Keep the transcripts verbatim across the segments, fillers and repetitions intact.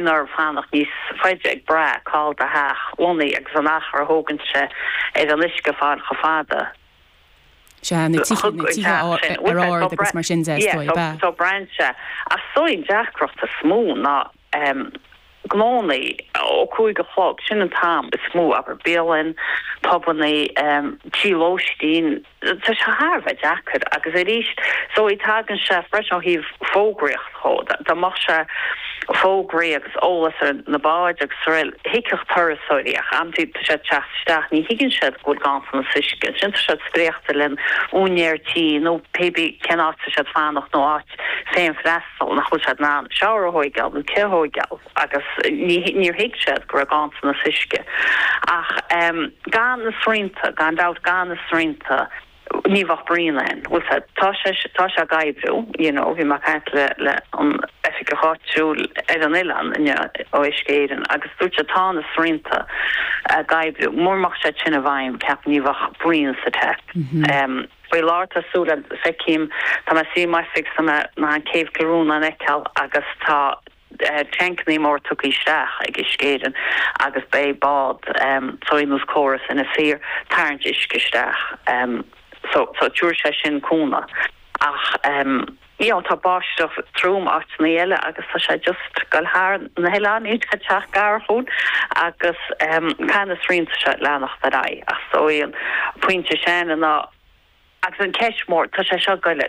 Orthu fanacht níos faide ag brath cá bhfuil do theach lonnaithe agus an achar a thógann sé ar an uisce fáil chomh fada. Sea, na tithe na tithe ar ard agus mar sin de, is dóigh, ab ea? So braitheann sé. Ach is dóigh an deacracht is mó ná gnónnaí ó cúig a chlog, sin an t-am is mó, abair bialann, pubannaí, tí lóistín, tá sé thar a bheith deacair agus arís so tagann sé freisin ó thaobh fógraíocht dhó, dá mbeadh sé fógraí agus eolas ar na báid agus araile, thuigfeadh turasóirí ach amantaí tá siad teacht isteach, ní thuigeann siad go bhfuil ganntanas uisce, ansin tá siad spréachta le úinéir tí nó pé bith cén áit tá siad fanacht nó áit féin-freastal nach bhfuil siad in ann shower a thóigeáil nó cith a thóigeáil agus níor thuig siad go raibh ganntanas uisce. Ach gan na srianta, gan dabht gan na srianta ní bheadh bruíon ann. Bhfuil sé, tá sé, tá sé ag oibriú, you know, bhí mé ag caint le, le an oifigeach áitiúil ar an oileán inniu ó Uisce Éireann agus dúirt sé tá na srianta ag oibriú, mura mbeadh siad sin i bhfeidhm, ceapaim ní bheadh bruíon sa tap. Faoi láthair tá súil agam, feicim, tá mé suí i m'oifig 's tá mé in ann Céibh Chill Rónáin a fheiceáil agus tá tancannaí mór tugtha isteach ag Uisce Éireann agus beidh bád so ar nós córas Inis Oírr tarraingt uisce isteach so so tabharfaidh sé sin cúnamh ach you know tá báisteach trom áiteanna eile agus tá sé just goil thar na hoileáin ag teacht gar chugainn agus caithfidh na srianta seo leanacht ar aghaidh ach so an pointe sin ná Agus an ceist mór, tá sé seo goil,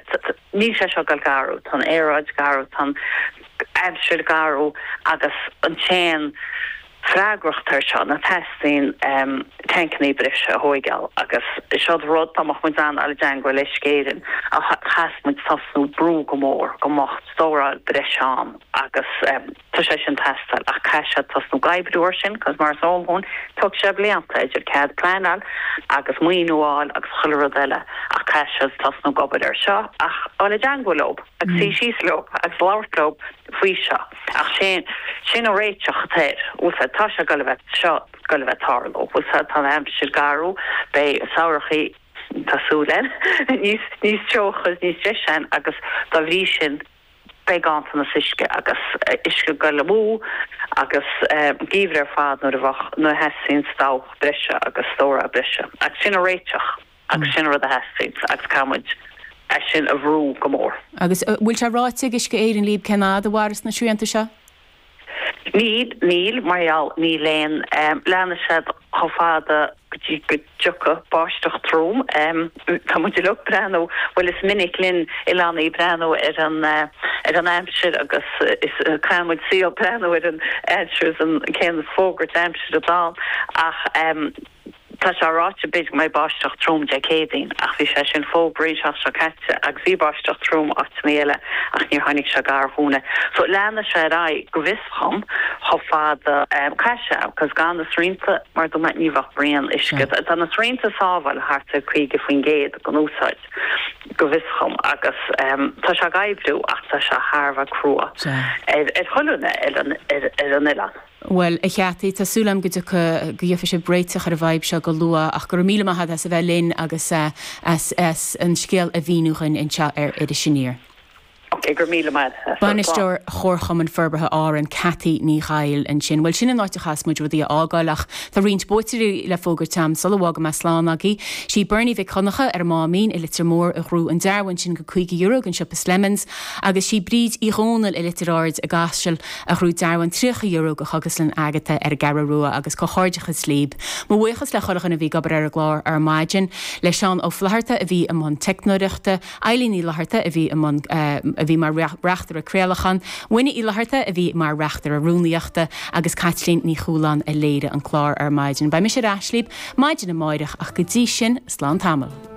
níl sé seo goil ag athrú, tá an aeráid ag athrú, tá an aimsir ag athrú agus an t-aon freagracht air seo ná teastaíonn tancannaí breise a thóigeáil agus seo rud dá mbeadh muid in ann dul i dteangmháil le Uisce Éireann a chaithfeas muid tosnú brú go mór go mbeadh stóráil breise ann agus tá sé sin teastáil ach caithfidh siad tosnú ag oibriú ar sin cos mar is eol dhúinn tógfaidh sé blianta idir cead pleanáil agus maoiniú a fháil agus chuile rud eile ach caithfidh siad tosnú ag obair ar seo ach dul i dteangmháil leo agus suí síos leo agus labhairt leo faoi seo ach sin sin an réiteach atá air bhfuil sé tá sé goil a bheith seo goil a bheith tarlú bhfuil sé tá an aimsir ag athrú beidh samhrachaí tá súil againn níos níos teocha níos deise agus dá bhrí sin beidh ganntanas uisce agus uisce ag goil amú agus geimhreadh ar fad nuair a bheadh nuair a theastaíonn dabhach breise agus stóráil breise. Agus sin an réiteach agus sin an rud a theastaíonn agus caithfidh muid é sin a bhrú go mór. Agus bhfuil sé ráite ag Uisce Éireann libh cén fhad a mhairfeas na srianta seo? Níl, níl, mar gheall, níl aon, leanfaidh siad chomh fada go dtí go dtiocfaidh báisteach trom. Tá muid uilig ag breathnú, bhuel is minic linn oileánaigh breathnú ar an, ar an aimsir agus is caitheann muid saol breathnú ar an aimsir is an cén fógairt aimsire atá ann ach tá sé ráite b'fhéidir go mbeidh báisteach trom Dé Céadaoin ach bhí sé sin fógraithe an tseachtain seo caite agus bhí báisteach trom áiteanna eile ach níor tháinig sé gar dhúinne. So leanfaidh sé ar aghaidh go bhfios dhom chomh fada caithfidh sé cos gan na srianta mar dúirt mé ní bheadh braon uisce. Tá na srianta ag sábháil thart ar caoga faoin gcéad den úsáid go bhfios dhom agus tá sé ag oibriú ach tá sé thar a bheith crua ar ar chuile dhuine ar an ar an oileán. Bhuel, a Cheataí, tá súil agam go dtiocfaidh, go gheofaidh sibh réiteach ar an bhfadhb seo go luath ach go raibh míle maith agat as a bheith linn agus as as an scéal a mhíniú dhuinn anseo ar Iris Aniar. Ok, go raibh míle maith agat. Bainisteoir Chomharchumann Forbartha Árann, Cathy Ní Dhaill ansin. Bhuel, sin an áit a chaithfeas muid rudaí a fhágáil ach tá roinnt buaiteoirí le fógairt agam sula bhfágfaidh mé slán agaibh. Sí Bernie Mhic Dhonncha ar an Máimín i Leitir Móir a ghnóthaigh an dearbhán sin go caoga euro den siopa Slemons agus sí Bríd Uí Dhónaill i Leitir Ard i gCaiseal a ghnóthaigh dearbhán tríocha euro go Chógaslann Agatha ar an gCeathrú Rua agus comhghairdeachas libh. Mo bhuíochas le chuile dhuine a bhí ag obair ar an gclár ar maidin, le Seán Ó Flatharta a bhí i mbun teicneoireachta, Eilín Uí Fhlatharta a bhí i mbun a bhí mar reachtaire craolacháin, Winnie Uí Fhlatharta a bhí mar reachtaire rúnaíochta agus Caitlín Ní Chualáin a léirigh an clár ar maidin. Beidh mise ar ais libh maidin amáireach ach go dtí sin, slán tamall.